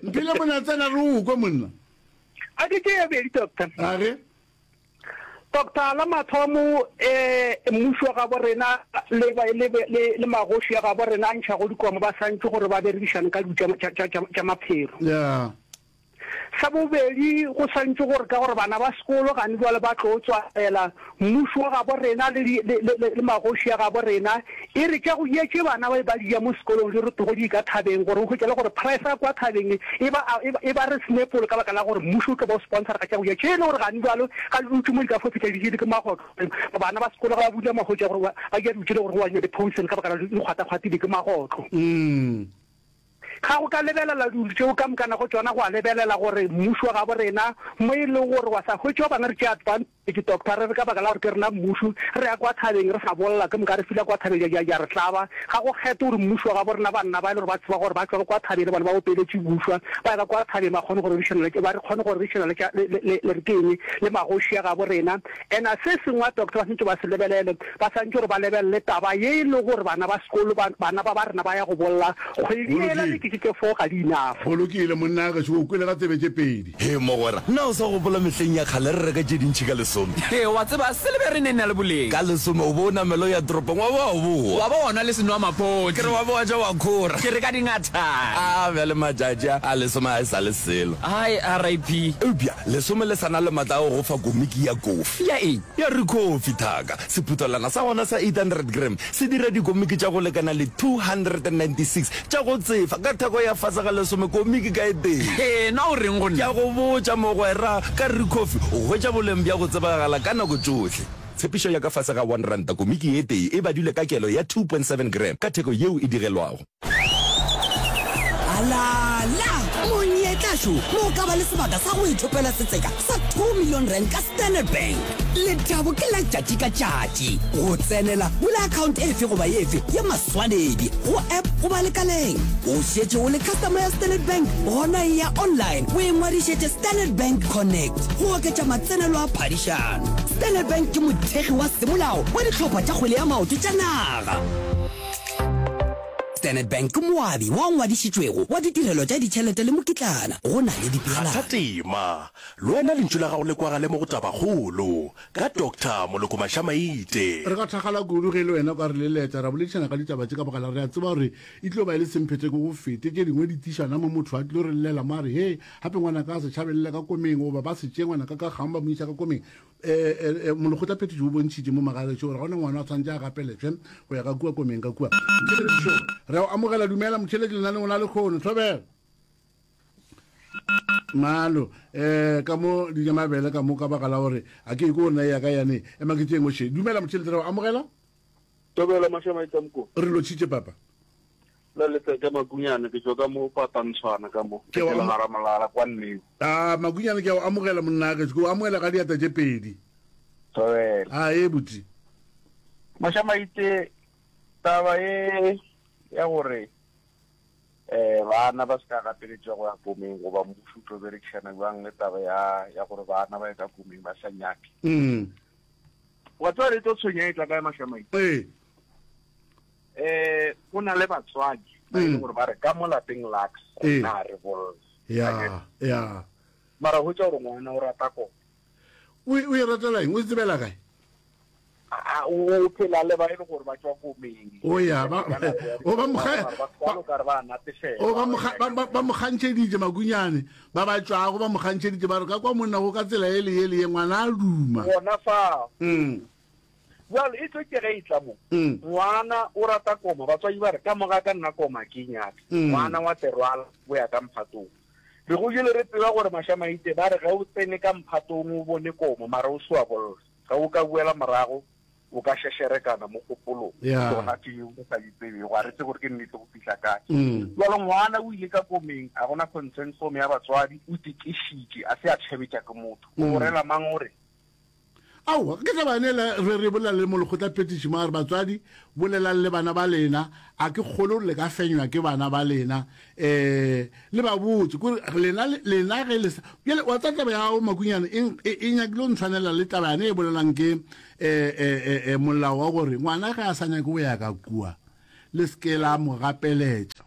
Mphile monna tsena re o kwe monna. A ke tše ya bedi doctor. A ge. Doctor la mathomo eh mmušo wa gabo rena le le le le magoši a gabo rena a ntšhago dikomo ba santše gore ba berekišane ka dilo tša tša tša tša maphelo. Yeah. Sa bobedi, go swantše gore ka gore bana ba sekolo gane bjale ba tlo tswalela, mmušo wa gabo rena le, le, le, le magoši a gabo rena, e re tša go ja tše bana ba ba di ja mo sekolong di rotogo di ka thabeng gore o hwetše le gore price ya kwa thabeng e ba, e ba, e ba reasonable ka baka la gore mmušo o tlo ba o sponsora ka tša go ja tše e le gore gane bjalo ga di dutše mo di ka fo fihla di jele ke magotlo. Bana ba sekolo ga ba bula mahotša gore ba ja dilo tše le gore go wa le poison ka baka la di kgwatakgwatile ke magotlo. Ga go ka lebelela dilo tšeo ka mokana go tšona, gwa lebelela gore mmušo wa gabo rena, mo e lego gore wa sa hwetše ba bangwe re tšea advantage, Doctor, re re ka baka la gore ke rena mmušo, re ya kwa thabeng re sa bolla, ke moka re fihla kwa thabeng ya, ya re tlaba. Ga go kgethe gore mmušo wa gabo rena, banna ba e le gore ba tseba gore ba tšwa kwa thabeng le bona ba opeletše bušwa, ba ya ka kwa thabeng ba kgone go rerišana le, ba re kgone go rerišana le tša, le, le, le, le re ke eng, le magoši a gabo rena. And se sengwe, Doctor, ba swanetše ba se lebelele, ba swanetše gore ba lebelele taba ye e le gore bana ba sekolo, ba, bana ba ba rena ba ya go bolla kgwedi Go yela lokile. dikete tše fo ga di enough. Go lokile, monna gešo, o kwele ka tsebe tše pedi. Hee mogwera, na o sa gopola mehleng ya kgale re reka tše dintši ka lesome? Hee wa tseba, se le be re ne na le boleng. Ka lesome o be o namela o ya toropong wa ba wa bowa. Wa ba wa nwa le senwamaphodi. Ke re wa ba wa ja wa khora. Ke re ka dingathana. A bjale matšatši a, a lesome ga e sa le selo. Hai, RIP. Eupša lesome le sa na le matla a go go fa komiki ya kofi. Ya eng? Ya Ricoffy, thaka. Sephuthelwana sa gona sa 800 gram se dira dikomiki tša go lekana le 296 tša go tsefa ka theko ya fase ga lesome komiki ka e tee. Hee, na o reng go Ke nna? a go botša, mogwera, ka Ricoffy o hwetša boleng bja go tsebagala ka nako tšohle. Tshepišo ya ka fase ga one ranta komiki e tee e badilwe ka kelo ya 2.7 gram ka theko yeo e digelwago. Alala! Monyetla šo mo o ka ba le sebaka sa go ithopela setseka sa 2 million rand ka Standard Bank. Lethabo ke la tšatši ka tšatši. Go tsenela, bula account efe goba efe ya maswanedi go app goba lekaleng. O šetše o le customer ya Standard Bank? Gona eya online o ingwadišetše Standard Bank Connect go oketša matsenelo a phadišano. Standard Bank ke mothekgi wa semolao wa dihlopha tša kgwele ya maoto tša naga. Standard Bank ke moabi wo ngwadišitšwego wa ditirelo tša ditšhelete le mokitlana go na le Kgatha dipeelano. tema, le wena lentšu la gago le kwagale mo go Tabakgolo ka Doctor Moloko Mashamaite. Re ka thakgala kudu ge e le wena o ka re leletša ra boledišana ka ditaba tše ka baka la re a tseba gore e tlo ba e le semphete ke go fete tše dingwe di tišana mo motho a tlo re llela mo a re he gape ngwanaka a se tšhabelele ka komeng goba ba se tšee ngwanaka ka kgang ba mo iša ka komeng Eh, eh, eh, molekgotlaphethiši o bontšhitše mo magagetšo gore ga ona ngwana a tshwanetse a gapeletšwe go ya ka kua komeng ka kua motšheletši šo re o amogela dumela motšheletši lenaneong la lekgono thobela malo um ka mo dijamabele ka mo ka baka la gore a ke ko nna ya ka yane ema ke tšengwe še dumela motšheletši re o amogela Tobela Mashamaita Moko. Re lotšhitše papa. La letsa ka Makunyane ke tšwa ka mo Patantshwana ka mo. Ke la gara molala kwa nneng. Ah Makunyane ke a o amogela monna ke o amogela ka diatla tše pedi. Tobela. Ah e buti. Mashamaite taba e ya gore eh bana ba se ka gapeletšwa go ya komeng goba mmušo o tlo berekišana bjang le taba ya ya gore bana ba ye ka komeng ba sa nyake. Mm. Wa tseba re tlo tshwenya e tla kae Mashamaite? Ee. Eh, go na le batswadi ba e leng mm. gore ba re ka mo lapeng lux ee. na re bolla. Ya, ya. Mara go tša gore ngwana o rata koma. O o e ratela eng? O e tsebela kae? A o phela le ba e le gore ba tšwa komeng. O ya ba o ba moga o ba moga ba mo kgantšheditše makunyane ba ba tšwago ba mo kgantšheditše ba re ka kwa monna go ka tsela e le ye le ye ngwana a duma. Gona fao. Mm. Bjale e tlo ke ge e tla mo. Mm. Ngwana o rata koma batswadi ba re ka moga ka nna koma ke nyaka. Mm. Ngwana wa terwala bo ya ka mphatong. Re go jele re tseba gore Mashamaite ba re ge o tsene ka mphatong o bone koma mara o se wa bolla. Ge o ka boela morago o ka šešerekana mo kgopolong. Yeah. Tšona tšeo re sa di tsebego, ga re tsebe gore ke nnete go fihla kae. Mm. Bjalo ngwana o ile ka komeng, a gona consent form ya batswadi, o tekešitše, a se a tšhabetša ke motho. O Mm. go rela mang gore Aowa, ke taba yane la re re bolela le molekgotla phetiši mo a re batswadi bolelang le bana ba lena, a ke kgolo gore le ka fenywa ke bana ba lena, um le ba botse kore lena lena ge le sa bjale wa tsa taba ya gago Makunyane e e, e nyakile go ntshwanela le taba yane e bolelang ke um um molao wa gore ngwana ge a sa nyake go ya ka kua le se ke la mo gapeletša.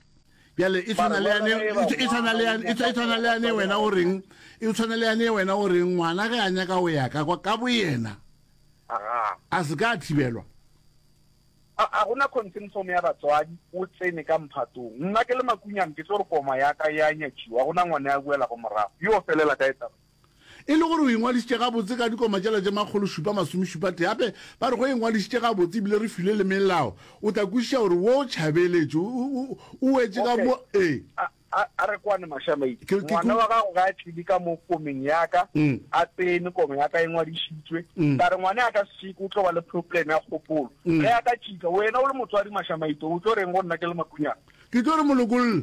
Bjale e tshwana le yane e tshwana le yane e tshwana le yane wena o reng e tshwana le yane wena o reng ngwana ge a nyaka go ya ka kwa ka boyena a se ka a thibelwa. A gona consent form ya batswadi o tsene ka mphatong. Nna ke le Makunyane ke tlo re koma ya ka ya nyatšiwa, a gona ngwana ya boelago morago. Yo felela kae taba ye? E le gore o ingwadišitše gabotse ka dikoma tšela tše 778, gape ba re go ingwadišitše gabotse ebile re filwe le melao, o tla kwešiša gore wo o tšhabeletše, o, o wetše ka mo, ee. A, a, a re kwane, Mashamaite. Ngwana wa gago ge a tlile ka mo komeng ya ka, a tsene, koma ya ka e ngwadišitšwe, ka re ngwana a ka se tšike, o tlo ba le problem ya kgopolo. Ge a ka tšika, wena o le motswadi, Mashamaite, o tlo reng go nna ke le Makunyana? Ke tlo re molokolle.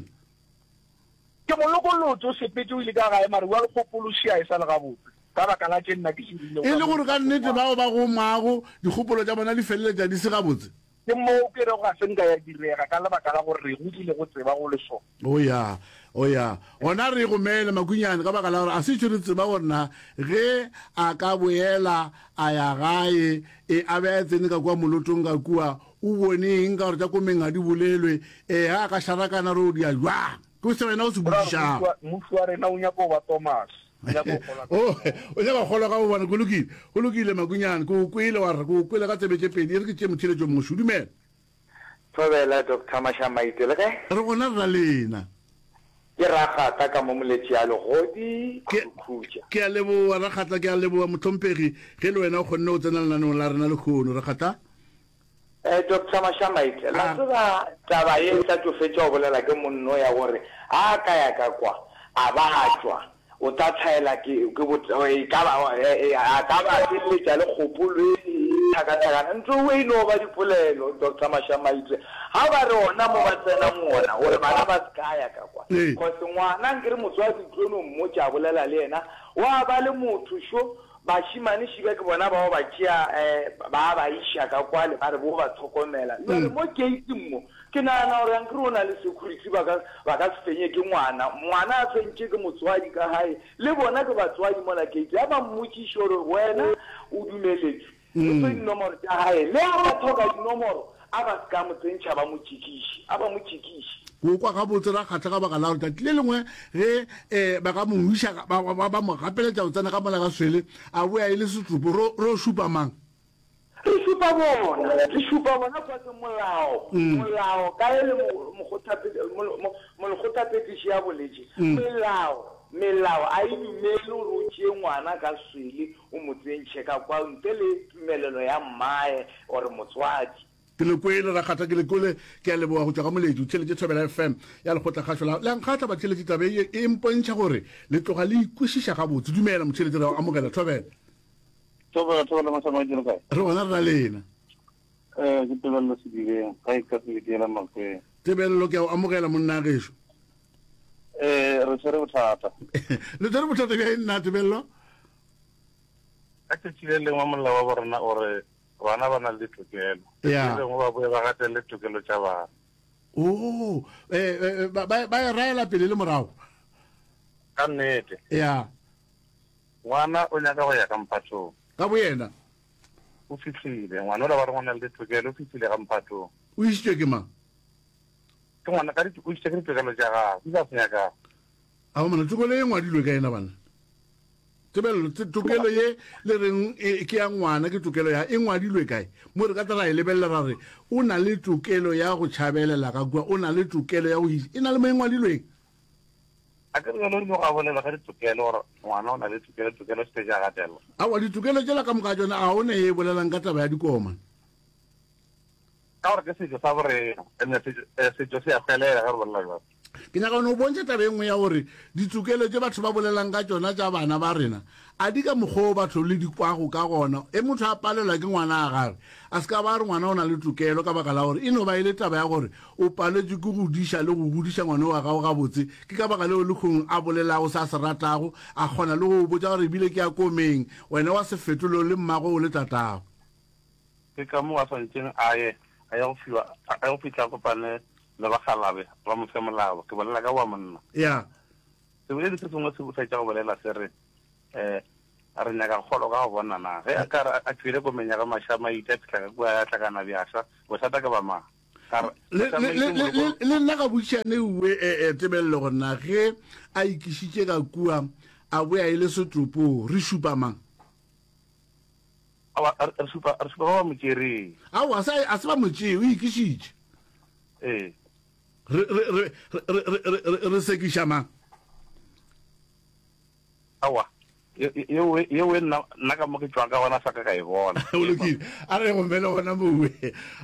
Ke mo lokollotše, o sepetše o ile ka gae, mare bjale kgopolo šia e sa le gabotse, ka baka la tše nna ke dirilego E ka le mo gore ka mokgatlong nnete wa ka. bao ba gomago, dikgopolo tša bona di feleletša di se gabotse. Ke moo ke rego ga se nka ya direga, ka lebaka la gore re godile go tseba go le sona. O ya, o ya. Gona re gomele, Makunyane, ka baka la gore a se tšo re tseba gore na ge a ka boela a ya gae, e, a be a tsene ka kua molotong ka kua, O bone eng ka gore tša komeng ga di bolelwe? Ee, ge a ka šarakana re o dia bjang? Ke se wena o se botšišago. Mmuši wa rena o nyaka go ba Thomas. O nyaka go kgolwa ka Oh, o nyaka go kgolwa ka go bona. Go lokile, go lokile Makunyane. Ke o kwele wa re, ke o kwele ka tsebe tše pedi. E re ke tšee motheeletšo mongwe. Šo, dumela. Thobela, Doctor Mashamaite, le kae? Re gona rra lena. Ke Rakgatla ka mo Moletši-a-Legodi, Ke, Khurkhutša. ke a leboga, Rakgatla, ke a leboga, mohlomphegi, ge le wena o kgonne go tsena lenaneong la rena lehono, Rakgatla. Eh, Doctor Mashamaite, la tseba taba ye e sa tšo fetša go bolela ke monno ya gore a ka ya ka kwa, a ba a tšwa, o tla tlhaela ke, ke bot, e ka ba, a ka ba a feleletša le kgopolo e e tlhakatlhakana. Ntho e e no ba dipolelo, Doctor Mashamaite. Ga ba re ona mo ba tsenang gona, gore bana ba se ka ya ka kwa. Cause ngwana nkere motswadi o tlo no mmotša a bolela le yena, wa ba le motho šo, Bašemane šiba ke bona bao ba tšea ba ba iša ka kwale ba re bo ba tlhokomela. Bjale mo gate-ing mo, ke nagana gore ankere o na le security ba ka ba ka se fenye ke ngwana. Ngwana a fentše ke motswadi ka gae, le bona ke batswadi mola gate. A ba mmotšiše gore wena o dumeletšwe, re fe dinomoro tša gae. Le a ba tlhoka dinomoro, A ba se ka mo tsentšha ba mo tšikiše, a ba mo tšikiše. Go kwa gabotse ra kgahla ka baka la gore tšatši le lengwe ge um ba ka mo iša ba, ba, ba mo gapeletša go tsena ka mola ka swele, a boya e le setopo, ro, ro šupa mang? Re šupa bona, re šupa bona cause molao, molao ka e le mo, mokgothapeti, mo, mo, molekgothapetiši a boletše, melao, melao a e dumele gore o tšee ngwana ka swele o mo tsentšhe ka kwa ntle le tumelelo ya mmae or motswadi. Ke le kwele, Rakgatha, ke le kwele. Ke a leboga go tšwa ga Moletši. O theeletše Thobela FM ya Lekgotlakgašo la. Le a nkgahla batheeletši, taba ye e mpontšha gore le tloga le ikwešiša gabotse. Dumela motheeletši, re a go amogela. Thobela. Thobela, Thobela Mašamaite, le kae? Re gona re na lena. Eh, ke Tebello Sedibeng, ga e ka Sebediela Makweng. Tebello, ke a go amogela monna gešo. Eh, re tshwere bothata. Le tshwere bothata bja eng nna Tebello? Ka tšatši le lengwe molao wa borena o re bana ba na le ditokelo. Ya. Le lengwe ba boe ba gatelele ditokelo tša bana. Oh, eh, eh, ba, ba, ba e raela pele le morago. Ka nnete. Ya. Ngwana o nyaka go ya ka mphathong. Ka boyena. O fihlile. Ngwana ola ba re ngwana le ditokelo, o fihlile ka mphathong. O išitšwe ke mang? Ke ngwana ka o išitšwe ke ditokelo tša gagwe. Ke sa se nyakago. Aowa monna, tokelo e ngwadilwe ka ena bana. Tebelelo, tokelo ye le reng e, ke ya ngwana, ke tokelo ya, e ngwadilwe kae? Mo re ka tla ra e lebelela ra re, o na le tokelo ya go tšhabelela ka kua, o na le tokelo ya go iša, e na le mo e ngwadilweng. A ke re bjalo o ile go a bolela ka ditokelo gore ngwana o na le tokelo, tokelo se tša gatelelwa. Aowa, ditokelo tšela ka moka tšona, ga go na ye e bolelang ka taba ya dikoma. Ka gore ke setšo sa borena, ene setšo se a felela ge re bolela bjalo. Ke nyaka go no bontšha taba e nngwe ya gore ditokelo tše batho ba bolelang ka tšona tša bana ba rena a di ka mokgwa o batho le di kwago ka gona. E motho a palelwa ke ngwana a gagwe, a se ka ba a re ngwana o na le tokelo ka baka la gore e no ba e le taba ya gore o paletšwe ke go diša le go godiša ngwana wa gago gabotse. Ke ka baka leo lehono a bolelago se a se ratago, a kgona le go go botša gore ebile ke ya komeng, wena wa se fetole o le mmagwe o le tatago. Ke ka moo a swanetšeng a ye, a ye go fiwa, a ye go fihla a kopane le bakgalabe, ba mo fe molao. Ke bolela ka wa monna. Ya. Seboledi se sengwe se fetša go bolela se re, Eh, re nyaka kgolo ka go bona na. Ge a ka re a tšwele komeng ya ga Mašamaite, a fihla ka kua ya hlakana bjaša, bothata ke ba mang? Le nna ga botšišane uwe e, e, tebelelo gore na ge a ikišitše ka kua a boya e le setopo re šupa mang? Aowa, re šupa re šupa ba ba mo tšereng. Aowa, a se a se ba mo tšee, o ikišitše. Ee. Re re re re re re re sekiša mang? Aowa, yeo yeo nna nna ka mo ke tšwang ka gona sa ka ka e bona. O lokile. A re e gomele gona mowe.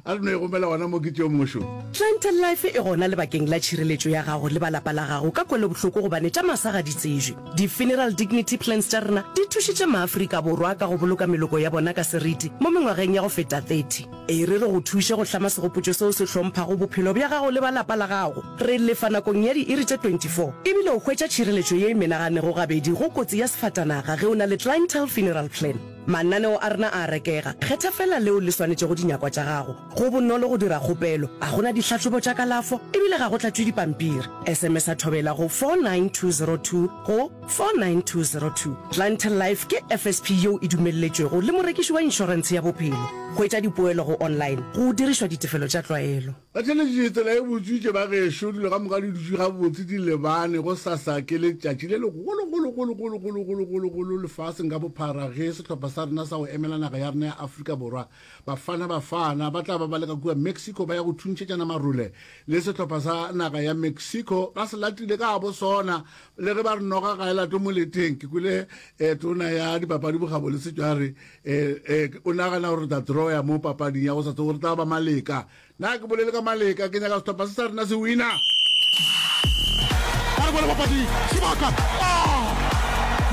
A re no e gomela gona mo ke tšeo mongwe šo. Clientele Life e gona lebakeng la tšhireletšo ya gago le ba lapa la gago ka kwelobohloko gobane tša masa ga di tsejwe. Di-funeral dignity plans tša rena di thušitše maAfrika Borwa ka go boloka meloko ya bona ka seriti mo mengwageng ya go feta 30. E re re go thuše go hlama segopotšo seo se hlomphago bophelo bja gago le ba lapa la gago. Re lefa nakong ya diiri tše 24 ebile o hwetša tšhireletšo ye e menaganego gabedi go kotsi ya sefatanaga ge o na le Clientele Funeral Plan. Mananeo a rena a a rekega, kgetha feela leo le swanetšego dinyakwa tša gago. Go bonolo go dira kgopelo, ga go na dihlahlobo tša kalafo ebile ga go tlatšwe dipampiri. SMS-a Thobela go 49202 go 49202. Clientele Life ke FSP yeo e dumelletšwego le morekiši wa inšorentshe ya bophelo. Hwetša dipoelo go online go dirišwa ditefelo tša tlwaelo. Batheeletši, tsela e botswitše ba gešo, dilo ka moka di dutše gabotse di lebane. Gosasa ke letšatši le legologologologologologologologolo lefaseng ka bophara ge sehlopha sa rena sa go emela naga ya rena ya Afrika Borwa, Bafana Bafana, ba tla ba ba le ka kua Mexico ba ya go thuntšhetšana marole le sehlopha sa naga ya Mexico. Ba se latile ka gabo sona le ge ba re noga ga e latwe moleteng. Ke kwele eh, tona ya dipapadi Bokgabo le Setšo a re eh, eh, o nagana gore re tla drawa mo papading ya gosasa gore tla ba maleka. Na ke bolele ka maleka, ke nyaka sehlopha se sa rena se wina. Ba re bole bapadi sebaka. Ah!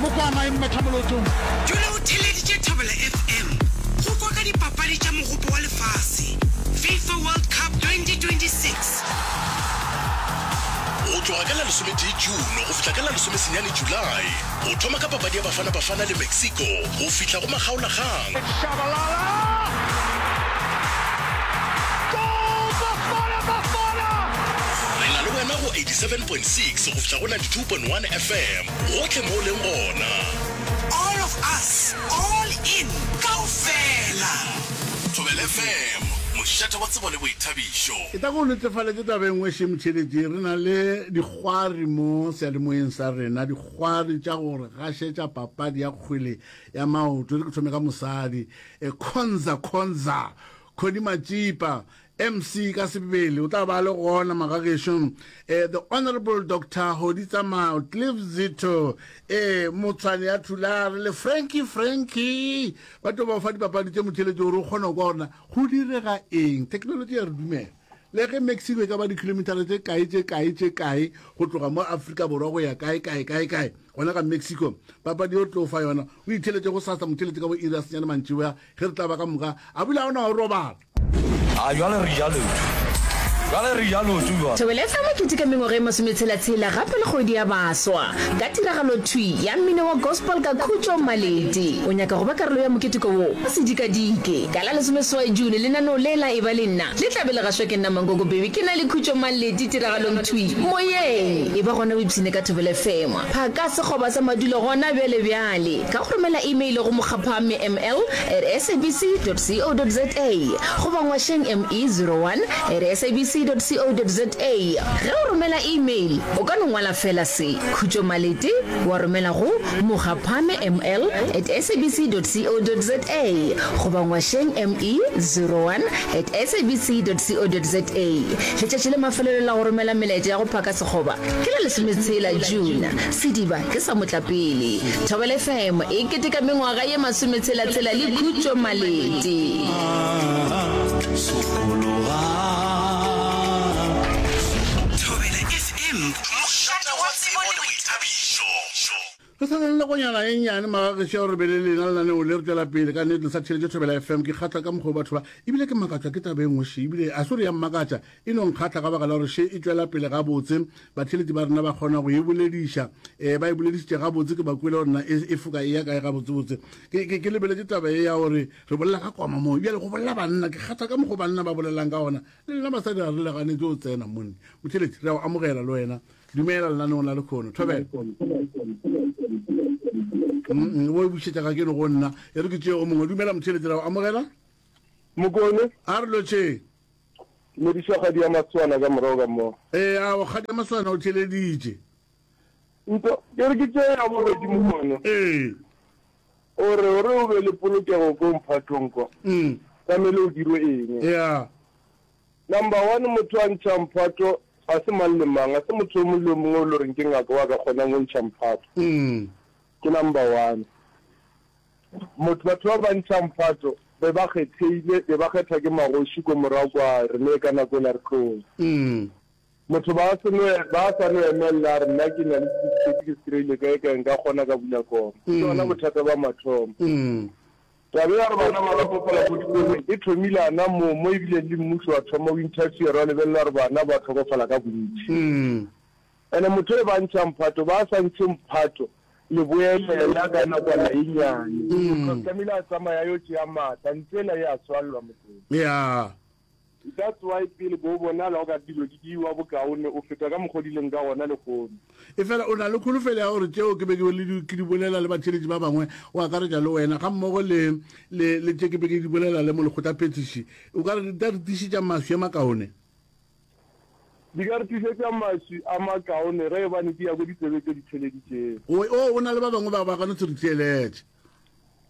Mokwana e mmetha molotong. Dula o theeleditše Thobela FM go kwa ka dipapadi tša Mogopo wa Lefase, FIFA World Cup 2026. Go tloga ka la lesometee June go fihla ka la lesomesenyane July, go thoma ka papadi ya Bafana Bafana le Mexico go fihla go makgaolakgang. Re na le wena go 87.6 go fihla go 92.1 FM, gohle mo o leng gona. All of us, all in, kaofela. Thobela FM, mošate wa tsebo le boithabišo. E tla ko netefaletše taba e nngwe še motšheletše, re na le dikgwari mo seyalemoyeng sa rena, dikgwari tša go re gašetša papadi ya kgwele ya maoto. E re ke thome ka mosadi, e Khonza Khonza, Connie Matšipa, MC ka sebele o tla ba le gona magagešo, eh, the Honorable Doctor Hodi Tsamao, Cliff Zito, eh, Motshwane ya Thulare le Frankie Frankie ba tlo ba fa dipapadi tše motšheletše gore o kgone go kwa gore na Go direga eng? Theknolotši ya re dumela. Le ge Mexico e ka ba dikhilomithara tše kae, tše kae, tše kae go tloga mo Afrika Borwa go ya kae, kae, kae, kae, gona ka Mexico, papadi yo tlo fa yona. O itheletše go sasa motheletše ka bo iri ya senyane mantšiboa ge re tla ba ka moka. A bile ga o na go robala. A jwale re ja leoto. Jwale re ja leoto jwale. Thobela FM e keteka mengwaga e masometshela-tshela gape le kgwedi ya baswa ka tiragalo thwi ya mmino wa gospel ka Khutšo Maleti. O nyaka go ba karolo ya moketeko wo? O se dikadike. Ka la lesomeseswai June lenaneo le la Eba le Nna le tla be le gašwa ke nna Mankoko Baby ke na le Khutšo Maleti tiragalong thwi moyeng. Eba gona o ipshine ka Thobela FM. Phaka sekgoba sa madulo gona bjale bjale ka go romela email go mokgaphame ml at sabc dot co dot za goba ngwašeng me 01 at sabc dot co dot za. Ge o romela email o ka no ngwala feela se, Khutšo Malete, wa romela go mokgaphame ml at sabc dot co dot za goba ngwašeng me 01 at sabc dot co dot za. Letšatši la mafelelo la go romela melaetša ya go phaka sekgoba ke la lesometshela June. Sediba ke sa motlapele. Thobela FM e keteka mengwaga ye masometshela-tshela le Khutšo Malete. Thobela FM, mošate wa tsebo le boithabišo. Re sa na le nakonyana e nnyane magagešo ya gore be le lena lenaneo le re tšwela pele ka nnete le sa theletše Thobela FM. Ke kgahlwa ka mokgwa o batho ba ebile ke makatšwa ke taba e nngwe še ebile a se gore ya mmakatša e no nkgahla ka baka la gore še e tšwela pele gabotse. Batheeletši ba rena ba kgona go e bolediša um ba e boledišitše gabotse ke ba kwele gore na e, e foka e ya kae gabotsebotse. Ke, ke, ke lebeletše taba e ya gore re bolela ka koma moo bjale go bolela banna ke kgahlwa ka mokgwa o banna ba bolelang ka gona le lena basadi ga re le ganetše o tsena monne. Motheeletši re a o amogela le wena. Dumela lenaneong la lekhono. Thobela. Mm, o e bušetša ga ke no go nna. E re ke tšee o mongwe. Dumela motheeletši ra o amogela. Mokone. A re lotšheng. Dumediša kgadi ya Maswana ka morago ka mo. Ee, ao, kgadi ya Maswana o theeleditše. Nto, ke re ke tšee ya bobedi mohono. Ee. O re, gore o be le polokego ko mphatong kwa, Mm. tlamehile o dirwe eng? Yeah. Number one, motho a ntšha mphato ga se mang le mang, ga se motho o mongwe le o mongwe o le goreng ke ngaka wa ka kgonang go ntšha mphato. Mm. Ke number one. Motho, batho ba ba ntšha mphato be ba kgetheile, be ba kgethwa ke magoši ko morago kwa rene ka nako ela re tloya. Mm. Motho ba se no, ba sa no emelela a re nna ke na le certificate ke se kry-ile kae kae nka kgona ka bula koma. Ke yona bothata ba mathomo. Taba ya gore bana ba hlokofala ko dikolong e thomile ana moo mo ebile le mmušo wa thoma o interfere wa lebelela gore bana ba hlokofala ka bontši. Ene motho e ba ntšha mphato ba sa ntšhe mphato leboelela ka nakwana e nnyane because tlamehile a tsamaye a yo tšea maatla ntsela e a tswallwa motseng. Yeah. That's why pele bo bonala o ka re dilo di diiwa bokaone o feta ka mokgo di leng ka gona lehono. Efela o na le kholofelo ya gore tšeo ke be ke le ke di bolela le batheeletši ba bangwe, go akaretša le wena, gammogo le le le tše ke be ke di bolela le molekgotlaphethiši, o ka re di tla re tlišetša maswi a makaone? Di ka re tlišetša maswi a makaone ge e ba ne di ya ko ditsebe tše di theleditšego. O, o, o na le ba bangwe ba ba gano se re theeletše.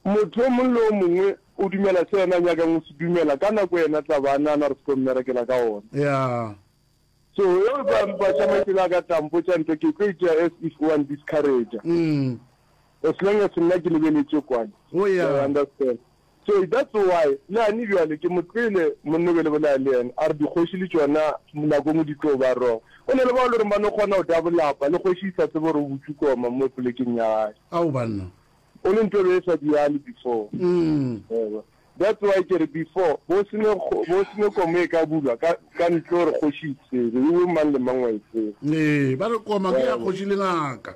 Motho o mongwe le o mongwe o dumela se yena a nyakang go se dumela ka nako yena tla ba a nahana gore se tlo mmerekela ka ona. Yeah. So eo ba mpatša maitele a ka tla mpotša nto ke tlo e tšea as if o a ndiscourage. Mm. As long as nna ke lebeletše kwale. Oh yeah. You understand? So that's why le ane bjale ke mo tlwele monna o be le bolaya le yena a re dikgoši le tšona nako nngwe di tlo ba wrong. Go na le bao le goreng ba no kgona go dabolapa le kgoši e sa tsebe gore o butše koma mo polekeng ya gae. Ao banna. O le ntho e be e sa diale before. Mm. Ewa. That's why ke re before bo sene bo sene komo e ka bulwa ka ka ntle gore kgoši e tsebe, e be mang le mang wa e tseba. Ee, ba re koma ke ya kgoši le ngaka.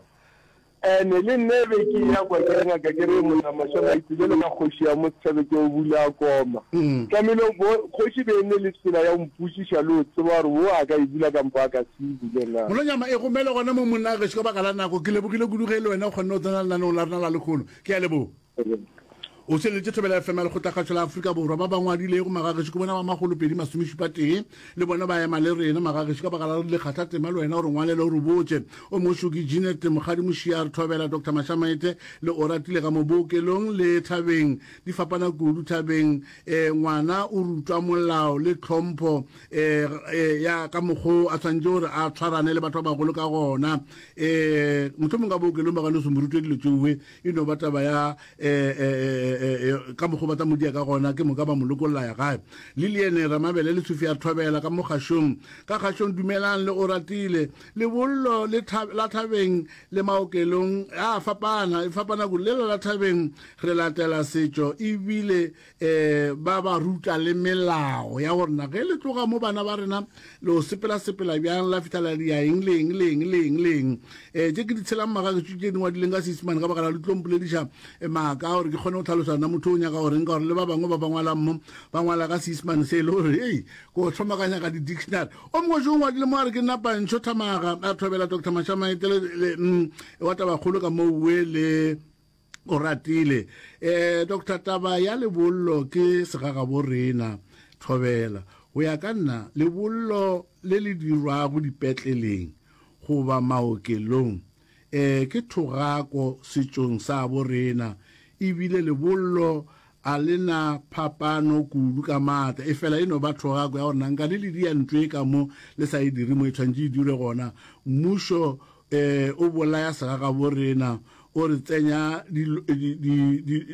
Ene le nna e be ke ya kwa ke re ngaka ke re monna Mashaba itse bjalo ka kgoši ya mo setšhabe ke o bula koma. Mm. Tlamehile bo kgoši be e ne le tsela ya go mpotšiša le go tseba gore wo a ka e bula kampo a ka se e bule na. Molonyama e gomele gona mo monna gešo ka baka la nako. Ke lebogile kudu ge e le wena o kgonne go tsena lenaneong la rena la lehono. Ke a leboga. O theeleditše Thobela FM ya Lekgotlakgašo la Afrika Borwa. Ba ba ngwadilego magagešo ke bona ba magolopedi masomešupatee. Le bona ba ema le rena magagešo ka baka la re le kgatha tema le wena o re ngwalele o re botše. O mošo ke Jeanette Mokgadi Mošiare Thobela Doctor Mashamaite le Oratile ka mo bookelong le thabeng di fapana kudu thabeng eh, ngwana o rutwa molao le tlhompho eh, eh, ya ka mokgo a tshwanetse gore a tshwarane le batho ba bagolo ka gona eh, mohlomong ka bookelong ba ka no se mo rutwe dilo tšeoe e no ba taba ya eh, eh, eh, eh, ka mokgo ba tla mo dia ka gona ke moka ba mo lokolla ya gae lilian ramabele le sofia thobela ka mo kgašong ka kgašong dumelang le o ratile lebollo le la thabeng le maokelong a fapana e fapana kudu lela la thabeng re latela setšo ebile um ba ba ruta le melao ya gore na ge le tloga mo bana ba rena le o sepela sepela bjang la fihla la dia eng le eng le eng le eng le eng um tše ke di tshelang magagešo tše dingwe di leng ka seisemane ka baka la di tlo mpolediša eh, maaka gore ke kgone go tlhalosa na motho o nyaka goreng ka gore le ba bangwe ba ba ngwalang mo ba ngwala ka seisemane se e le gore ei ko thoma ka nyaka di-dictionary o mongwe jo o ngwadile mo a re ke nna pantšho thamaga a thobela dr mashamaete mm, wa tabakgolo ka mowe le o ratile um dr taba ya lebollo ke segagabo rena thobela go ya ka nna lebollo le le dirwago dipetleleng goba maokelong um ke thogako setšong sa bo rena ebile lebollo A le na phapano kudu ka maatla, efela e no ba thogako ya gore na nka le le dia ntlo e ka mo le sa e dire mo e tshwanetše e dirwe gona. Mmušo e o bolaya segagabo rena, o re tsenya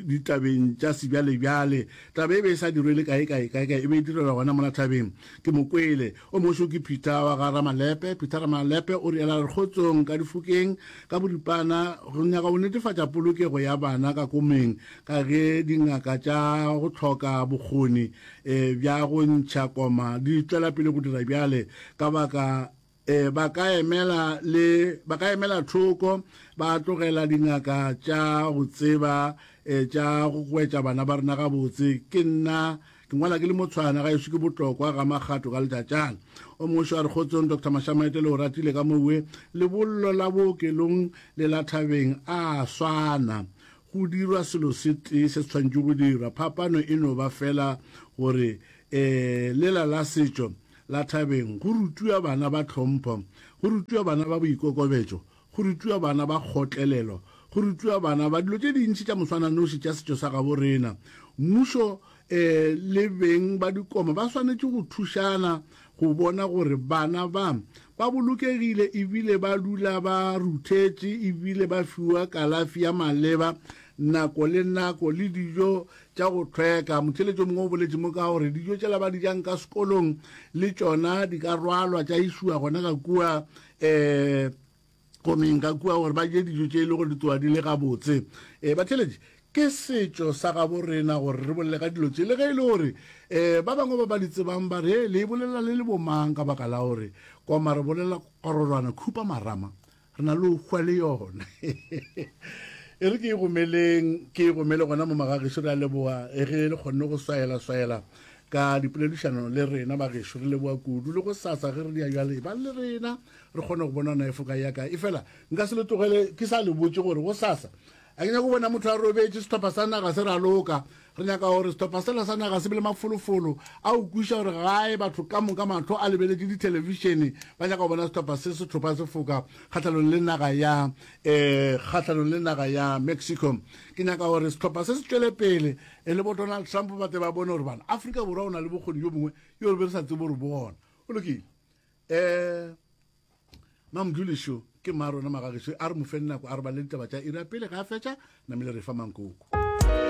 ditabeng tša sebjalebjale. Taba e be e sa dirwe le kae kae, kae kae, e be e direlwa gona mola thabeng. Ke mo kwele. O mongwe šo ke Peter wa ga Ramalepe. Peter Ramalepe o re ela re kgotsong ka difokeng ka boripana go nyaka go netefatša polokego ya bana ka komeng Ka ge dingaka tša go hloka bokgoni bja go ntšha koma di tšwela pele go dira bjale ka baka ba ka emela le ba ka emela thoko ba tlogela dingaka tša go tseba tša go gwetša bana ba rena gabotse. Ke nna ke ngwala ke le motshwana ga ešo ke botlokwa ga makgato ka letšatšana. O mongwe šo a re kgotsong Dr Mashamaete le o ratile ka mowe lebollo la bookelong le la thabeng a swana. Go dirwa selo se tee se se tshwanetše go dirwa. Phapano e no ba feela gore um lela la setšo. la thabeng go rutiwa bana ba tlhompho, go rutiwa bana ba boikokobetšo, go rutiwa bana ba kgotlelelo, go rutiwa bana ba dilo tše dintši tša moswananoši tša setšo sa gabo rena. Mmušo um le beng ba dikoma ba swanetše go thušana go bona gore bana ba ba bolokegile ebile ba dula ba ruthetše ebile ba fiwa kalafi ya maleba nako le nako le dijo tša go hlweka. Motheeletši o mongwe o boletše mo ka gore dijo tšela ba di jang ka sekolong le tšona di ka rwalwa tša išwa gona ka kua um komeng ka kua gore ba je dijo tše e le gore di tloga di le gabotse. Um batheeletši, ke setšo sa gabo rena gore re bolele ka dilo tše le ge e le gore um ba bangwe ba ba di tsebang ba re le e bolela le le bomang ka baka la gore koma re bolela korolwana khupa marama Re na le go hwa le yona. E re ke e gomeleng, ke e gomele gona mo magagešo. Re a leboga e ge le kgonne go swaela swaela ka dipoledišano le rena bagešo. Re leboga kudu le go sasa ge re dia bjale ba le rena re kgone go bona na e foka ya kae. Efela nka se le tlogele ke sa le botše gore go sasa A ke nyake go bona motho a robetše, sehlopha sa naga se raloka. Re nyaka gore sehlopha sela sa naga se be le mafolofolo a go kwešiša gore gae batho ka moka mahlo a lebeletše dithelebišene ba nyaka go bona sehlopha se se thopa sefoka kgahlanong le naga ya um kgahlanong le naga ya Mexico. Ke nyaka gore sehlopha se se tšwele pele e le bo Donald Trump ba tle ba bone gore bana Afrika Borwa o na le bokgoni bjo bongwe yo re be re sa tsebe gore bo gona. Go lokile. Um Mamdulešo ke mma rona magageso a re mo feng nako a re balele ditaba tša iri ya pele ge a fetša namile re fa mankoko.